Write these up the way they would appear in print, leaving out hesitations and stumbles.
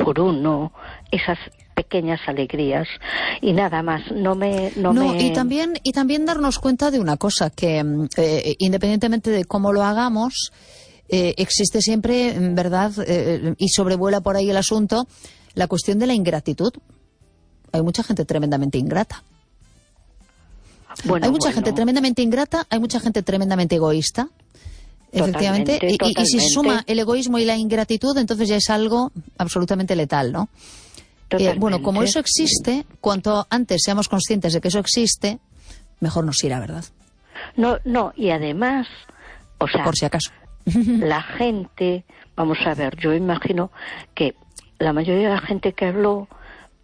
por uno, esas pequeñas alegrías y nada más. Y también darnos cuenta de una cosa, que independientemente de cómo lo hagamos, existe siempre, ¿verdad? Y sobrevuela por ahí el asunto, la cuestión de la ingratitud. Hay mucha gente tremendamente ingrata. Hay mucha gente tremendamente ingrata, hay mucha gente tremendamente egoísta. Efectivamente, y si se suma el egoísmo y la ingratitud, entonces ya es algo absolutamente letal, ¿no? Bueno, como eso existe, cuanto antes seamos conscientes de que eso existe, mejor nos irá, ¿verdad? No, y además, o sea, por si acaso, la gente, vamos a ver, yo imagino que la mayoría de la gente que habló,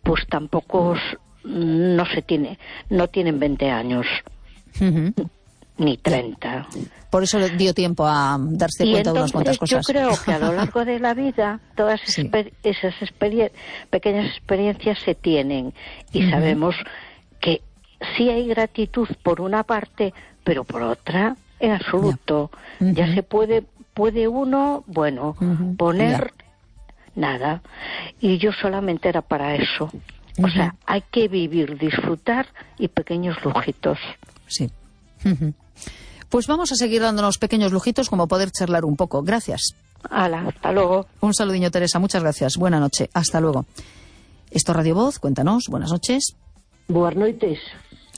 pues tampoco no tienen 20 años. Ni 30. Por eso le dio tiempo a darse cuenta de unas cuantas cosas. Yo creo que a lo largo de la vida todas esas pequeñas experiencias se tienen y sabemos que sí hay gratitud por una parte, pero por otra, en absoluto. Ya se puede uno, poner nada. Y yo solamente era para eso. O sea, hay que vivir, disfrutar y pequeños lujitos. Sí. Pues vamos a seguir dándonos pequeños lujitos como poder charlar un poco. Gracias. Hala, hasta luego. Un saludiño, Teresa. Muchas gracias. Buena noche. Hasta luego. Esto es Radio Voz. Cuéntanos. Buenas noches. Buenas noites.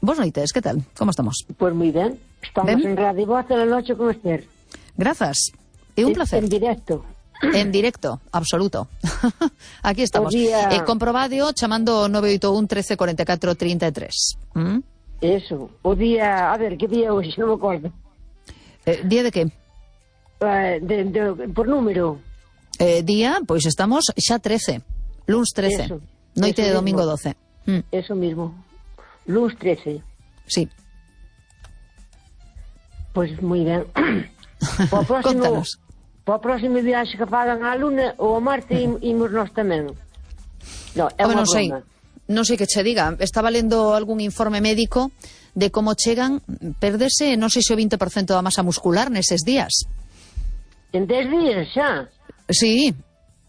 Buenas noites. ¿Qué tal? ¿Cómo estamos? Pues muy bien. Estamos en Radio Voz a la noche con Esther. Gracias. Y un placer. En directo. En directo, absoluto. Aquí estamos. Comprobado chamando 981 13 44 33. Eso, o día, a ver, que día hoxe, non me acordo. Día de que? Por número. Día, pois estamos xa 13, luns 13, eso, noite eso de domingo mismo. 12. Eso mismo, luns 13. Sí. Pois moi ben. Contanos. Para o próximo viaxe que fagan a Luna ou a Marte imos nós tamén. No, é unha broma. Non sei que che diga, estaba lendo algún informe médico de como chegan, perdese, non sei se o 20% da masa muscular neses días. En 10 días xa? Sí,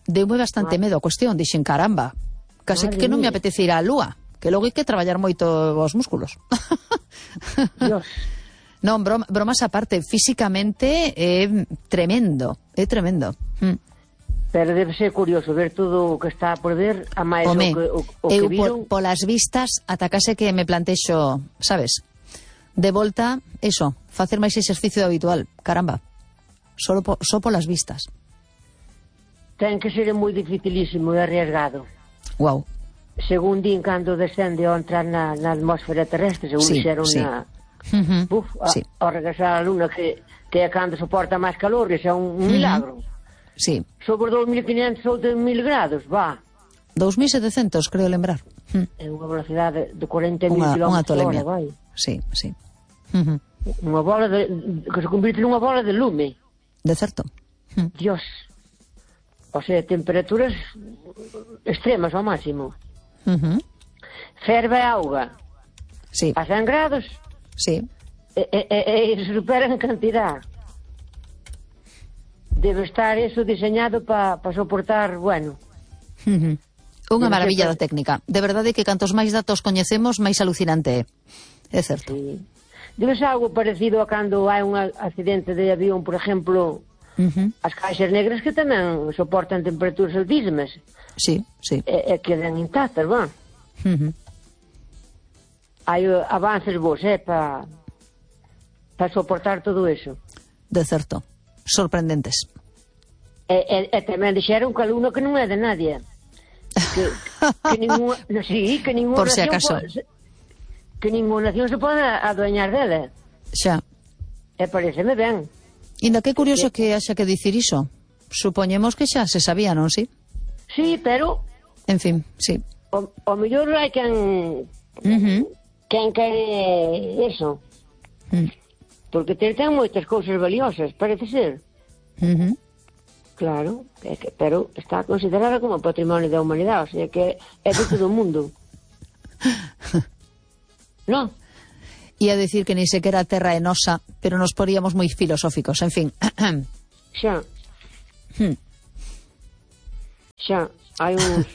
deume bastante medo a cuestión, dixen, caramba, case que non me apetece ir á lúa, que logo hai que traballar moito os músculos. Dios. Non, bromas aparte, físicamente é tremendo, é tremendo. Pero debe ser curioso ver todo o que está por ver, a máis o que viron. Polas vistas, atacase que me plantexo, sabes, de volta, eso, facer máis exercicio habitual, caramba, só polas vistas. Ten que ser moi dificilísimo e arriesgado. Wow. Según din, cando descende ao entrar na atmósfera terrestre, según dixeron na... ao regresar a Luna, que é cando soporta máis calor, que é un milagro. Sí. Sobre 2.500 ou 2.000 grados, va. 2.700, creo lembrar. É unha velocidade de 40.000 km/h, vai. Sí. Unha bola que se convirte nunha bola de lume. De certo. Dios. O sea, temperaturas extremas ao máximo. Ferve a auga. Sí. A 100 grados. Sí. E superan cantidad. Debe estar eso diseñado para soportar, bueno. Unha maravilla da técnica. De verdade que cantos máis datos coñecemos, máis alucinante é. É certo. Sí. Debe ser algo parecido a cando hai un accidente de avión, por exemplo, as caixas negras que tamén soportan temperaturas altísimas. Sí. E quedan intactas, va. Hai avances vos, para soportar todo eso. De certo. Sorprendentes. E tamén dixeron que a Luna que non é de nadie. Que ninguna, sí, que ninguna por si acaso. Que ninguna nación se pode adueñar dela. Xa. E pareceme ben. Inda que curioso que haxa que dicir iso. Supoñemos que xa se sabía, non, si? Sí, pero... En fin, sí. O mellor hai quen quere eso. Porque ten moitas cousas valiosas, parece ser. Claro, pero está considerada como patrimonio da humanidade, o sea que é de todo o mundo. Non? E a decir que ni sequera a terra é nosa, pero nos poríamos moi filosóficos, en fin. Xa. Xa, hai uns...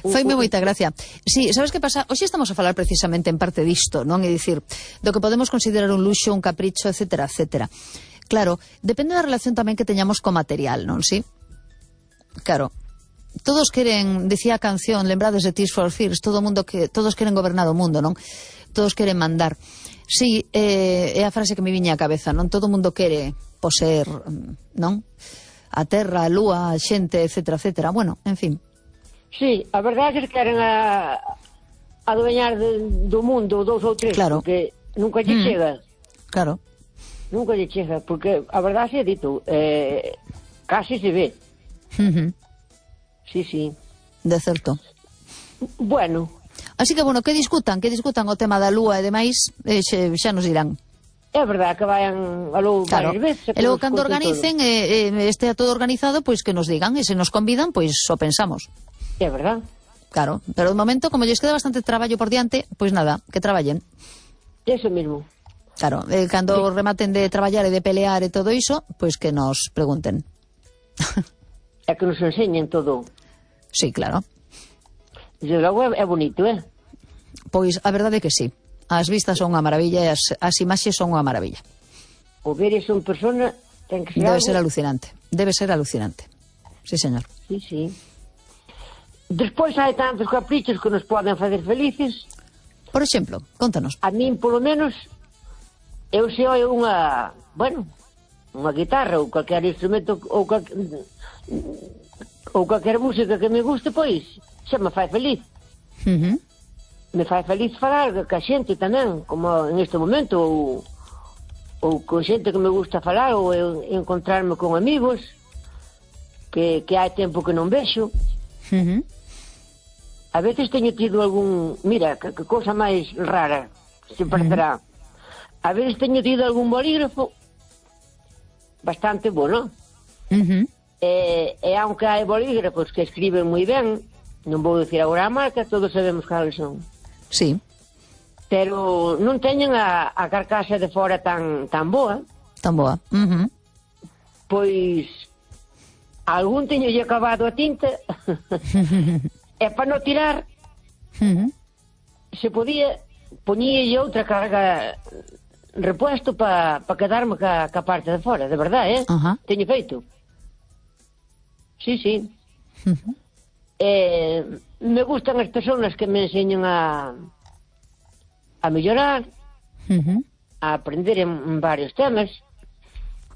Faime moita gracia. Sí, sabes que pasa? Hoxe estamos a falar precisamente en parte disto, non? É dicir, do que podemos considerar un luxo, un capricho, etcétera, etcétera. Claro, depende da relación tamén que teñamos co material, non? Sí? Claro. Todos queren, decía a canción, lembrades de Tears for Fears, todos queren gobernar o mundo, non? Todos queren mandar. Sí, é a frase que me viña á cabeza, non? Todo o mundo quere poseer, non? A terra, a lúa, a xente, etcétera, etcétera. Bueno, en fin. Sí, a verdade é que queren adueñar do mundo 2 ou 3, claro. Porque nunca lle chega. Claro. Nunca lle chega, porque a verdade é dito, casi se ve. Sí, sí. De certo. Bueno. Así que, bueno, que discutan o tema da lúa e demais, xa nos dirán. É verdade que vayan a logo varias veces. E logo, cando organicen, estea todo organizado, pois que nos digan, e se nos convidan, pois o pensamos. É verdade. Claro, pero de momento, como lles queda bastante traballo por diante, pois nada, que traballen. Eso mismo. Claro, cando rematen de traballar e de pelear e todo iso, pois que nos pregunten. É que nos enseñen todo. Sí, claro. Desde logo é bonito, Pois a verdade é que sí. As vistas son unha maravilla e as imaxes son unha maravilla. O ver iso en persona ten que ser Debe ser alucinante. Debe ser alucinante. Sí, señor. Sí, sí. Despois hai tantos caprichos que nos poden facer felices. Por exemplo, contanos. A min, polo menos, eu se oio unha guitarra ou calquer instrumento ou calquer música que me guste, pois xa me fai feliz. Me fai feliz falar ca xente tamén, como en este momento, ou con xente que me gusta falar, ou encontrarme con amigos que hai tempo que non vexo. A veces teño tido algún... Mira, que cousa máis rara, se parecerá. A veces teño tido algún bolígrafo bastante bueno. E aunque hai bolígrafos que escriben moi ben, non vou dicir agora a marca, todos sabemos cales son. Sí. Pero non teñen a carcasa de fora tan boa. Tan boa. Pois algún teño lle acabado a tinta e para non tirar se podía poñílle outra carga repuesto para quedarme ca parte de fora, de verdade, teño feito. Sí, sí. Me gustan as persoas que me enseñan a mellorar, a aprender en varios temas.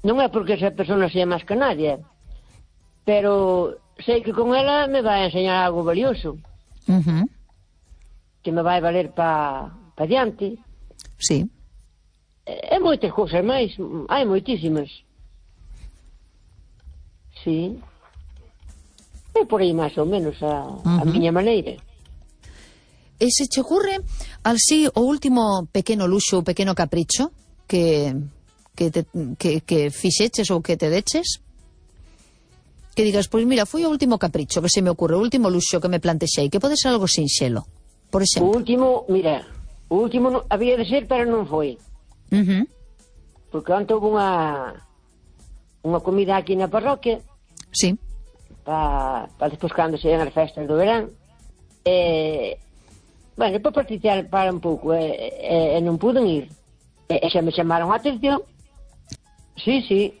Non é porque esa persona sea máis que nadie, pero sei que con ela me vai a enseñar algo valioso, que me vai valer para diante. Sí. E moitas cousas máis, hai moitísimas. Sí. É por aí máis ou menos a miña maneira. E se che ocurre así o último pequeno luxo, o pequeno capricho que fixeches ou que te deches? Que digas, pois mira, foi o último capricho que se me ocurre, o último luxo que me plantexei, que pode ser algo sinxelo, por exemplo. O último había de ser, pero non foi. Porque antes houve unha comida aquí na parroquia. Sí. Para despois cando se as festas do verán. Bueno, para participar un pouco, e non puden ir. E xa me chamaron a atención. Sí, sí.